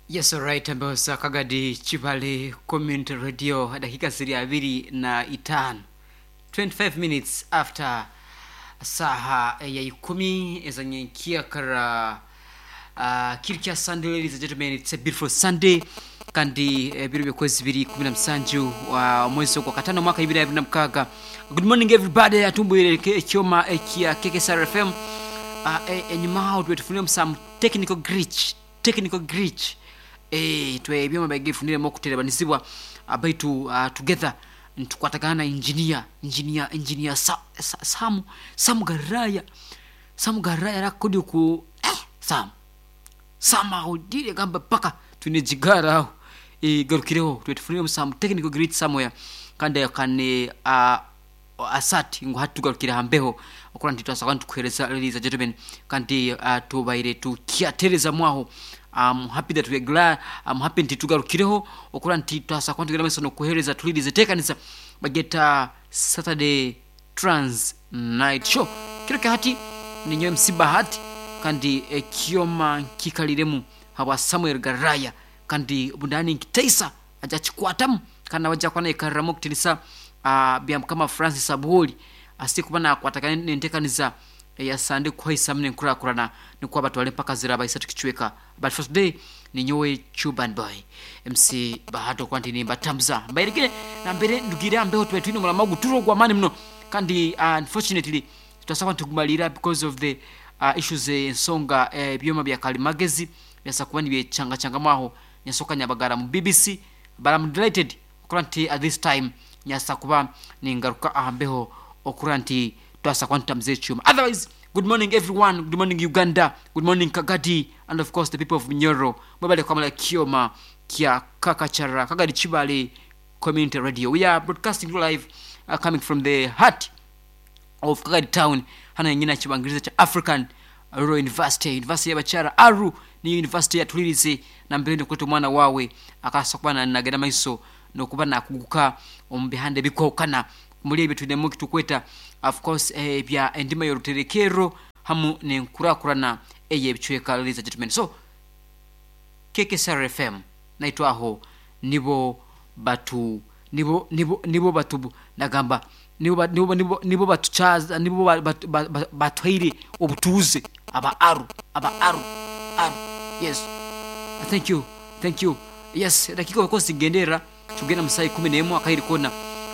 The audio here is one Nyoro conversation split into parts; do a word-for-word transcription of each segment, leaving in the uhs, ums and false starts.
Yes, alright, ambayo Kagadi Chibale Community Radio, dakika ziri abiri na itano, twenty-five minutes after saha ya ikumi ezanyenkia kara uh, kiri kya Sunday. Ladies and gentlemen, it's a beautiful Sunday kandi ebiro byokwezi biri kumi na musanju wa mwezi gwa katano mwaka ibiri abiri na mukaga. Good morning everybody, atumbwire ekyoma ekya K K S R F M. Uh, enyuma aho twetufunire some technical glitch technical glitch eh twe ebyoma bagifuniremo kuterebanizibwa abaitu uh, together ntukwatagana na engineer engineer engineer sa, sa, Sam Sam Garaya Sam Garaya rakodi ku eh, Sam Sam audire gamba paka tunejigara aho e garukireho twetufunire some technical glitch somewhere kandi kane uh, asati ngo hatugarukira hambeho okora nti twasaba ntukuhereza. Ladies and gentlemen, kandi uh, tubaire tukyatereza mwaho. I'm happy that we are glad. I'm happy nti tugarukireho okora nti twasaba ntugera meso no kuhereza tulirize tekanisa bageta Saturday Trans Night Show kiro kahati ninyo M C Bahati kandi ekyoma kikaliremu habwa Samuel Garaya kandi bundani nkitaisa aja chikwatamu kandi abaja kwana ikaramo kutinisa Uh, bya mukama Francis Abuholi asikuba nakwatagana nentekaniza ya Sunday kuhaisa mne nkurakurana nikuwa batwale mpaka ziraba isatu kichweka. But for today ni nyowe Chuban Boy M C Bahato kwanti ni mbatamza mbairikire na mbere ndugira mbeho tuwe twino mulama guturo gwa mani mno kandi uh, unfortunately tutasaba tugumalira because of the uh, issues ensonga ebyoma eh, bya kalimagezi byasakuba ni byechanga changa mwaho nyasoka nyabagara mu B B C. But I'm delighted kuranti at this time nyasa kuba ningaruka ahambeho okuranti twasa kwanta mzee chuma. Otherwise, good morning everyone, good morning Uganda, good morning Kagadi, and of course the people of Nyoro. Mwebale kwa kioma kia Kakachara Kagadi Chibale Community Radio. We are broadcasting live uh, coming from the heart of Kagadi town hana nyina chibangiriza cha African Rural University, University ya Bachara Aru ni university ya tulirize na mbere kwetu mwana wawe akasa kuba nagenda maiso nokuba nakuguka omu bihande bikokana muri ebyo tulemu kitukweta of course eh, bya endima yoruterekero hamu nenkurakurana eye bichweka. Ladies and gentlemen, so K K S R F M naitwaho nibo batu nibo nibo nibo batu nagamba nibo nibo nibo nibo batuchaza nibo batwaire obutuze aba aru aba aru aru. Yes, thank you, thank you. Yes, dakika wakosi gendera tugenda musai kumi n'emu akairi kona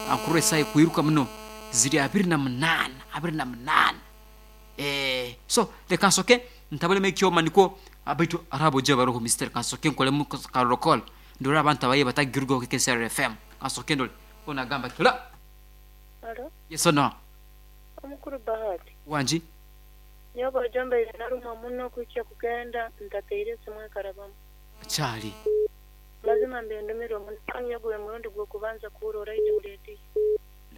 ankuru esai kuiruka muno ziri abiri na munana abiri na munana eh so the kansoke ntabale mekyoma niko abaitu arabo je baroho Mister kansoke nkole mu karokol ndora abantu abaye batagirwa ku K K S R F M kansoke ndole ona gamba kila. Hello. Yes no omukuru Bahati wanji nyoba jomba ile naruma muno kuicha kugenda ntateire simwe karabamu chali lazima mbendumiro munanya gwe murundi gwo kubanza kurora ije muleti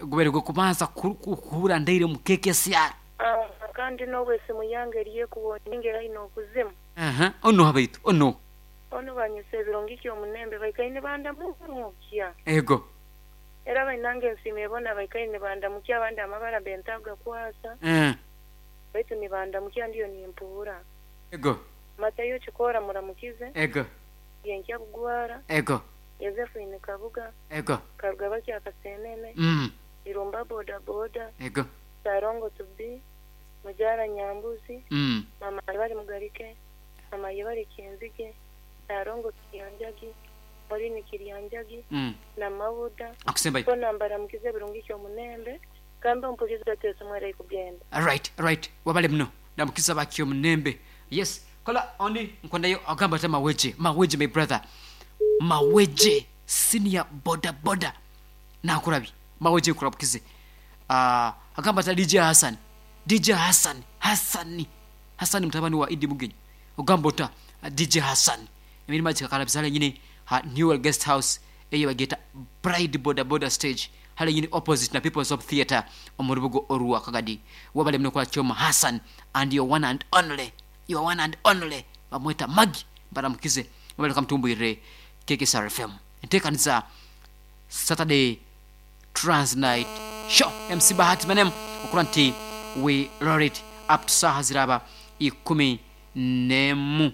gubere gwo kubanza kuhura ndaire mu K K S R. Ah, kandi no wese muyange riye kubonyengera ino kuzimu. Aha, ono habaitu ono ono banyise birongiki omunembe baikaine banda mukya ego era bainange nsime bona baikaine banda mukya abandi amabara bentaga kwasa eh baitu ni banda mukya ndiyo ni mpura ego matayo chikora muramukize ego yenkya kugwara ego Yosefu inekabuga ego karugaba kya kasenene mm irumba boda boda ego sarongo to be mujara nyambuzi mm mama bari mugarike mama yibari kinzige sarongo kiryanjagi muri ni kiryanjagi mm na mabuda akusemba ko nambara mukize birungi cyo munembe kamba mpuliza tese mwere kugenda. Right, right, wabale mno ndamukiza bakyo munembe. Yes, kola oni nkondayo agamba ta maweje maweje my brother maweje senior boda boda nakurabi maweje kurabukize ah uh, agamba ta D J Hassan D J Hassan Hassan Hassan mtabani wa Idi Mugenyi ogamba ta D J Hassan emirima chikakalabizale nyine ha Newell Guest House eyo bageta Bride Boda Boda stage hale nyine opposite na People's Hope Theatre omurubugo oruwa Kagadi. Wabale mno kwa choma Hassan and your one and only your one and only bamweta Magi baramukize wabale kamtumbwire K K S R F M entekanisa Saturday Trans Night Show M C Bahati manem okuranti we roll it up to saha ziraba ikumi nemu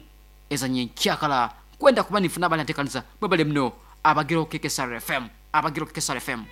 ezanye kyakala Kwenda kuba nifuna bali ntekanisa. Mwebale mno abagiro K K S R F M, abagiro K K S R F M.